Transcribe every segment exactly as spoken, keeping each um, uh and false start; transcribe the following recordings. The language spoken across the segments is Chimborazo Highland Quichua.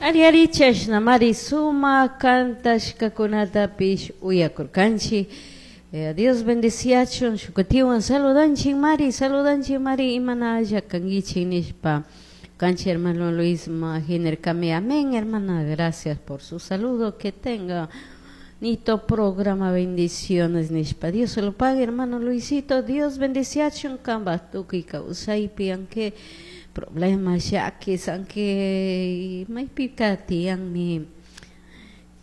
Ari ari chashnamari sumak kantashkakunatapish uyakurkanchik. Eh, Dios bendeciachun shukutiwan saludanchik mari, saludanchik mari, imanalla kankichik nishpa. Canchi hermano Luis Majiner amén, hermana, gracias por su saludo, que tenga nito programa, bendiciones nishpa. Dios se lo pague, hermano Luisito. Dios bendeciachun kamba tukuy kawsaypi, aunque problemas, llakis, aunque maypika tiyanmi,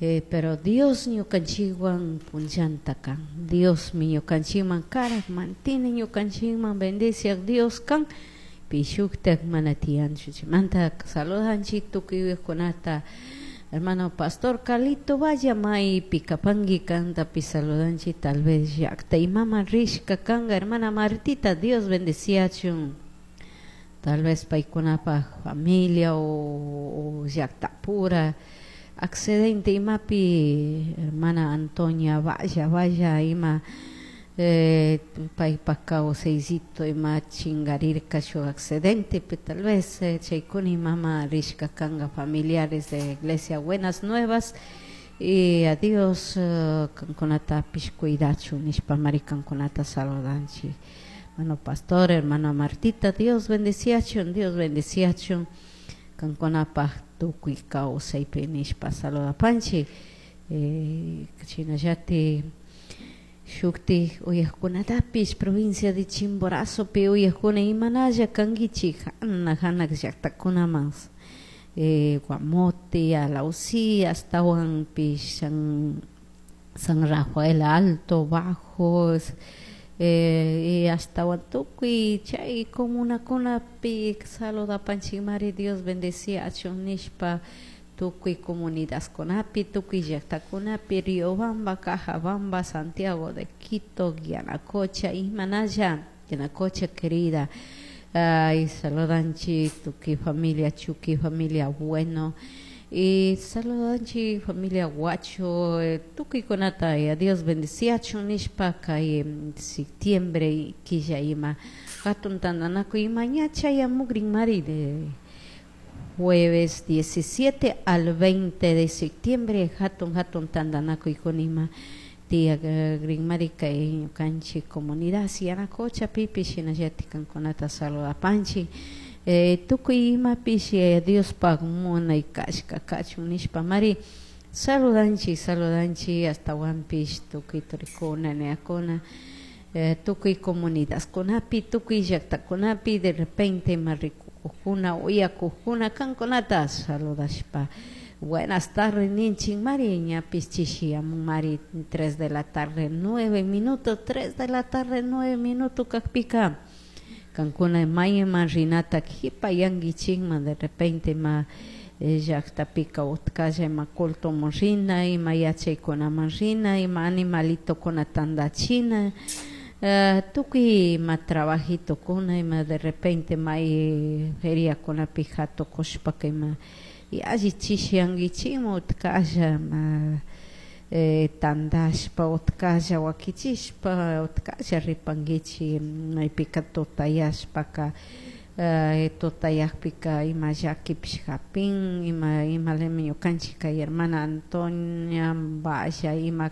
eh, pero Dios ñukanchikwan punllanta kan. Dios mi ñukanchikman karak, mantiene ñukanchikman, bendeciak Dios kan, pishuktak mana tiyanchu. Chaymanta saludanchik tukuy uyakkunata. Hermano pastor Carlito Vaya, maypi kapanki kantapi saludanchik, tal vez llakta imaman rishka kanga. Hermana Martita, Dios bendeciachun, tal vez paykunapaj familia o, o llaqtapura accidente imapi. Hermana Antonia Vaya Vaya, ima eh, paypak kawsaysito ima chingarirka shuk accidente, tal vez eh, chaykuna imama rishka kanga familiares de Iglesia Buenas Nuevas. Y a Dios uh, kankunatapish cuidachun nishpa mari kankunata saludanchik. Hermano pastor, hermana Martita, Dios bendeciachun, Dios bendeciachun kankunapaj tukuy kawsaypi nishpa saludapanchik. Eh, shinallatik shuktik uyakkunatapish provincia de Chimborazopi uyakkuna, imanalla kankichik hanak hanak llaktakunaman, eh, Guamote, Alausí, ashtawanpish San, San Rafael Alto, Bajo, eh, y ashtawan tukuy chay comunakunapi saludapanchikmari. Dios bendeciachun nishpa tukuy comunidadkunapi, tukuy llaktakunapi, Riobamba, Cajabamba, Santiago de Quito, Yanacocha, imanalla, Yanacocha querida. Ay, saludanchik tukuy familia Chuki, familia Bueno, y saludanchik familia Guacho, eh, tukuykunata y a Dios bendeciachun nishpa. Kay septiembre killa ima hatun tantanakuy ima ña chayamukrin mari, de jueves diecisiete al veinte de septiembre hatun hatun tantanakuykuna ima tiyakrinmari kay ñukanchik comunidad Yanacochapipish. Shinallatik kankunata saludapanchik. eh, tukuy imapish eh, Diospaj munay kashka kachun nishpa mari saludanchik, saludanchik ashtawanpish tukuy turikuna, nenakuna, eh, tukuy comunidadkunapi, tukuy llaktakunapi de repente ima rikukuna uyakukuna kankunata saludashpa buenas tardes ninchik mari. Ñapish chishiyamun mari, tres de la tarde nueve minutos, tres de la tarde nueve minutos kakpika kankuna mayman rinata kipayankichikman, de repente ima llaktapika utkalla ima cultoman rina, ima yachaykunaman rina, ima animalitokuna tandachina, uh, tukuy ima trabajitokuna, ima de repente may feriakunapi hatukushpaka ima alli chishiyankichikman utkalla ma eh, tandashpa utkalla wakichishpa utkalla ripankichik. Maypika tutayashpaka, eh, tutayakpika ima llakipish japin ima imalami ñukanchik kay hermana Antonia Valla ima.